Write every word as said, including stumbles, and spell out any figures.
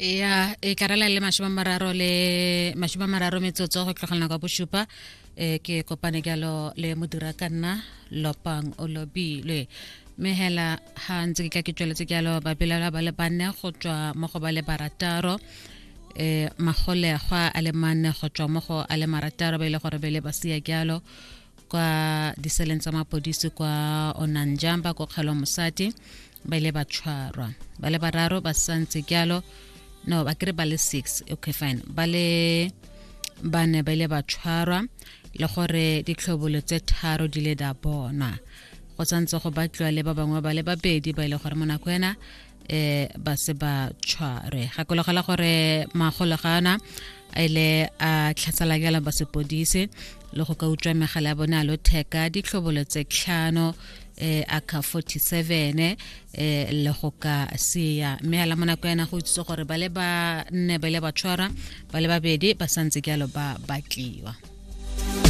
Ya, e karela le mashome a mararo le mashome a mararo metsotso go tlogela nako ya bosupa. um ke kopane jalo le modira ka nna Lopang o Lobilwe, mme hela ga ntse ke tla ke tsweletse jalo, babelaelwa ba le banne go tswa mo go ba le barataro, um magolegwa a le manne go tswa mo go a le marataro, ba ile gore ba ile ba sia jalo kwa diseleng tsa mapodisi kwa Onanjamba ko kgalo mosadi, ba ile ba tshwarwa. Ba le bararo ba santse jalo, no, ba kry ba le six, okay, fine, ba le bane ba ile ba tshwarwa, le gore ditlhobolo tse tharo di le da bonwa. Go santse go batliwa le ba bangwe ba le babedi ba ile gore mo nako ena um ba se ba tshwarwe. Gakologela gore magolegana a ile a tlhasela jalo ba sepodisi le go ka utswa megala ya bone a lotheka, ditlhobolo tse tlhano, eh A K forty-seven, eh le go ka sia. Mme hela mo nako ena go itsitse gore ba le ba nne ba ile ba tshwarwa, ba le babedi ba santse jalo ba batliwa.